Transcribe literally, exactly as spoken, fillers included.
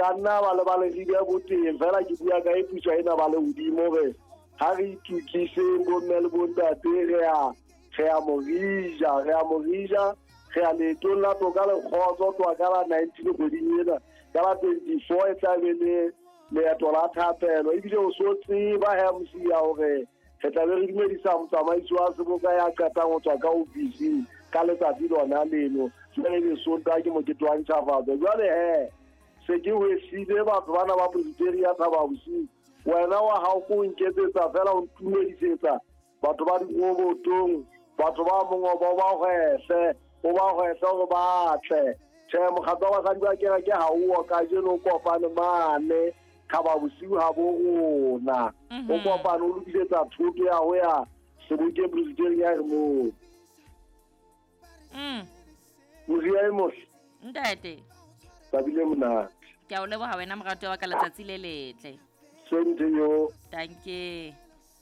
ka nna ba le ba le ribe boteng fela ke bua ka e putswa ena ba le hodimo re ha re itukiseng bomme le bontate re a re a morija re a morija re a leetong la toka le kgotso tloha ka la nineteen kgweding ena ka la twenty-four e tla be le leeto la thapelo ebile o so tseba he mosia hore re tla be re dumedisa motsamaisi wa seboka ya qetang ho tswa ka ofising ka letsatsi lona leno jwale le Sontaha ke mokete wa ntjhafatso. Jwale he se ke hwesile batho bana ba Presbyteria Thaba Bosiu wena wa hao ko nketsetsa fela o ntumedisetsa batho ba dirobotong batho ba mongobo ba hwehle o ba hwehle hore ba tle. Tjhe mokgatlo wa basadi ba kereke ha o kajeno o kopane mane Thaba Bosiu ha bo rona o kopane o lokisetsa thoto ya ho ya sebokeng Presbyteria re moo. Mm. Moria e mohle. Ntate. Tabile monate. Ke a o leboha wena morato wa ka letsatsi le letle. Same to you. Thank you.